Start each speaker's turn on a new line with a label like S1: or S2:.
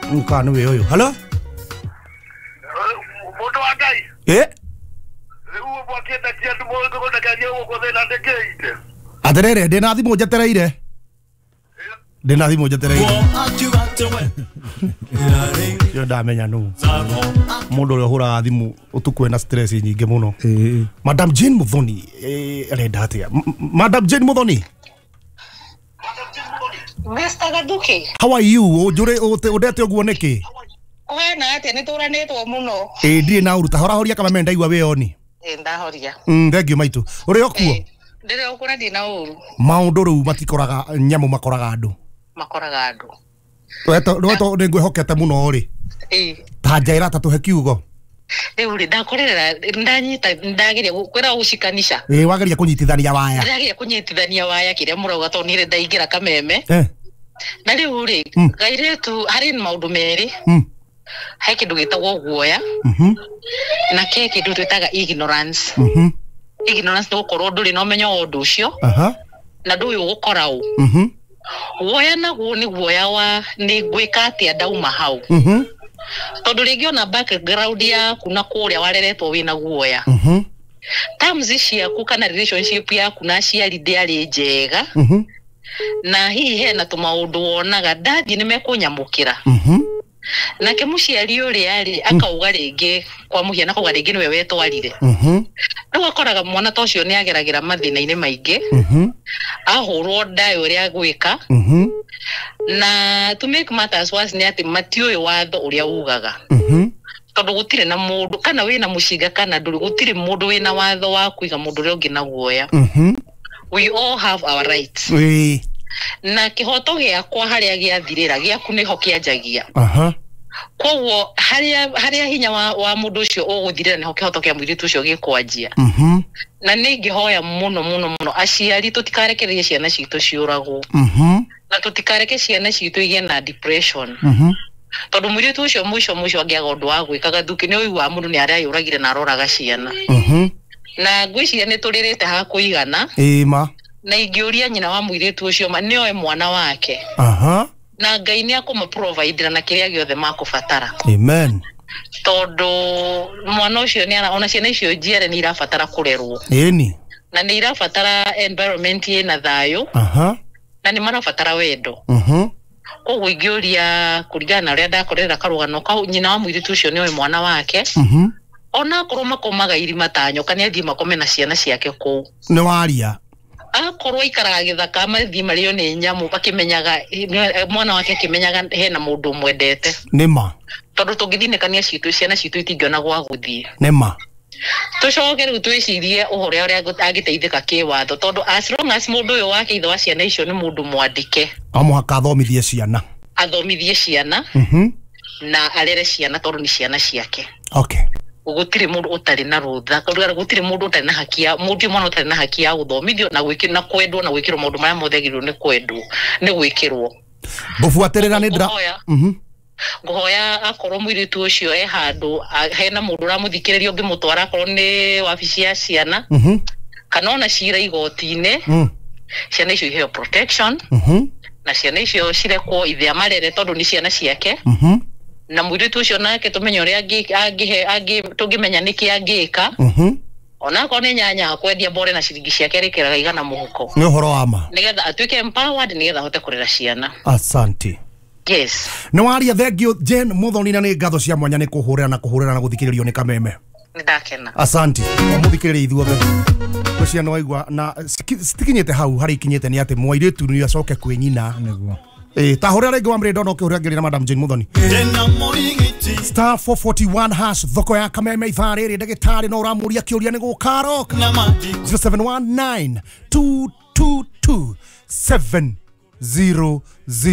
S1: Kana nĩ ũyũ. Hello.
S2: Mũndũ wa Ngai.
S1: Eh.
S2: Rĩu mwakĩendagia andũ mũgũndakagia gũkũ thĩna ndĩkĩite.
S1: Atĩrĩrĩ, ndĩna thimũ njetereire. Ndĩna thimũ njetereire. Yo ndamenya nũ. Mũndũ ũrĩa ũhũraga thimũ ũtukũ ena stress nyingĩ mũno. Madam Jane Muthoni arenda atĩa? Madam Jane Muthoni.
S3: Mr. Gathuki.
S1: How are you? Ũnjũre ũndete ũguo nĩkĩ?
S3: Kũhana atĩa? Nĩ tũranĩtwo mũno.
S1: Ĩ ndirĩ na ũruta horahoria kameme ndaigua wĩ oni.
S3: Ĩ ndahoria.
S1: Thank you maitũ. Ũrĩ o kuo?
S3: Ndĩrĩ o kuo na ndirĩ na ũru.
S1: Maũndũ rĩu matikoraga nyamũ makoraga andũ.
S3: Makoraga andũ.
S1: Weto nĩ ngwĩhokete mũno rĩ.
S3: Ĩ.
S1: Ta njaĩra ta tũhe kiugo.
S3: Rĩu rĩ ndakorerera ndanyita ndageria kwĩra gũcikanisha.
S1: Ĩ wageria kũnyitithania waya.
S3: Ndageria kũnyitithania waya kĩrĩa mũrauga tondũ niĩ ndaingĩra kameme. Na rĩu rĩ kairĩtu harĩ maũndũ merĩ. He kĩndũ gĩtagwo guoya. Na ke kĩndũ twĩtaga ignorance. Ignorance nĩ gũkorwo ndũrĩ na ũmenyo wa ũndũ ũcio. Na ndũĩ ũgũkora ũ. Guoya naguo nĩ guoya wa nĩ ngwĩka atĩa ndauma hau. Tondũ rĩngĩ ona background yaku na kũrĩa wareretwo wĩna guoya. Terms ciaku kana relationship yaku na aciari ndĩarĩ njega. Na hihi hena tũmaũndũ wonaga ndathiĩ nĩ mekũnyamũkĩra. Nake mũciari ũrĩa rĩ akauga rĩngĩ kwa mũhiano akauga rĩngĩ nĩwe wetwarire. Rĩu akoraga mwana ta ũcio nĩ ageragĩra mathĩna-inĩ maingĩ. Ahũrwo ndaĩ ũrĩa agwĩka. Na to make matters worse nĩ atĩ matiũĩ watho ũrĩa ugaga. Tondũ gũtirĩ na mũndũ kana wĩna mũcinga kana ndũrĩ gũtirĩ mũndũ wĩna watho wa kũiga mũndũ ũrĩa ũngĩ na guoya. We all have our rights. Na kĩhoto gĩakwa harĩa gĩathirĩra gĩaku nĩho kĩanjagia. Koguo harĩa hinya wa mũndũ ũcio ũgũthirĩra nĩho kĩhoto kĩa mũirĩtu ũcio gĩkwanjia. Na nĩ ingĩhoya mũno mũno mũno aciari tũtikarekererie ciana citũ ciũragwo. Na tũtikareke ciana citũ igĩe na depression. Tondũ mũirĩtu ũcio mũico mũico angĩaga ũndũ wa gwĩka Gathuki nĩ ũiguaga mũndũ nĩ areyũragire na aroraga ciana. Na ngwĩciria nĩ tũrĩrĩte ha kũigana.
S1: Ĩma.
S3: Na ingĩũria nyina wa mũirĩtu ũcio nĩoe mwana wake. Na Ngai nĩ akũmũprovidera na kĩrĩa gĩothe makũbatara.
S1: Amen.
S3: Tondũ mwana ũcio nĩ ona ciana icio njiare nĩ irabatara kũrerwo.
S1: Ĩni.
S3: Na nĩ irabatara environment ĩna thayũ. Na nĩ marabatara wendo. Koguo ingĩũria kũringana na ũrĩa ndakorera karũgano kau nyina wa mũirĩtu ũcio nĩoe mwana wake. Ona akorwo makomaga irima ta nyoka nĩ athiĩ makome na ciana ciake kũu.
S1: Nĩ waria.
S3: Akorwo aikaraga gĩthaka mathiĩ marĩo nĩ nyamũ akĩmenyaga mwana wake akĩmenyaga hena mũndũ ũmwendete.
S1: Nĩma.
S3: Tondũ tũngĩthinĩkania citũ ciana citũ itingĩona gwa gũthiĩ.
S1: Nĩma.
S3: Tũcoke rĩu twĩcirie ũhoro ũrĩa angĩteithĩka kĩwatho tondũ as long as mũndũ ũyũ wake ithe wa ciana icio nĩ mũndũ mwandĩke.
S1: O mũhaka athomithie ciana.
S3: Athomithie ciana. Na arere ciana tondũ nĩ ciana ciake.
S1: Okay.
S3: Gũtirĩ mũndũ ũtarĩ na rũtha gũtirĩ mũndũ ũtarĩ na haki ya mũndũ mwana ũtarĩ na haki ya gũthomithio na gwĩkĩrwo na kwendwo na gwĩkĩrwo maũndũ marĩa mothe agĩrĩirwo nĩ kwendwo nĩ gwĩkĩrwo.
S1: Ngũbuatĩrĩra nĩ ndĩra
S3: ngũhoya akorwo mũirĩtu ũcio e handũ hena mũndũ ũramũthikĩrĩria ũngĩmũtwara akorwo nĩ wabici ya ciana kana ona cira igoti-inĩ ciana icio iheo protection na ciana icio cirekwo ithe amarere tondũ nĩ ciana ciake. Na mũirĩtu ũcio nake tũmenye ũrĩa tũngĩmenya nĩkĩ angĩka. Ona akorwo nĩ nyanya akwendia mbore na ciringi ciake arĩkĩraga igana mũhuko.
S1: Nĩ ũhoro wa ma.
S3: Nĩgetha atuĩke empowered nĩgetha ahote kũrera ciana.
S1: Asante.
S3: Yes.
S1: Nĩ waria thank you Jane Muthoni na nĩ ngatho cia mwanya nĩ kũhũrĩra na kũhũrĩra na gũthikĩrĩrio nĩ kameme.
S3: Nĩ ndakena.
S1: Asante. Mũthikĩrĩrie ithuothe. Ngwĩciria nĩ waigua na citikinyĩte hau harĩa ikinyĩte nĩ atĩ mwairĩtu nĩ acoke kwĩ nyina.
S4: Nĩguo.
S1: Ta hũrĩra rĩngĩ wa mrĩndo no kĩhũrĩra ngĩrĩ na Madam Jane Muthoni. Star 441 hash thoko ya kameme ithaa rĩrĩ ndagĩtarĩ no ũramũria kĩũria nĩ gũkaroka. 0719 222 700.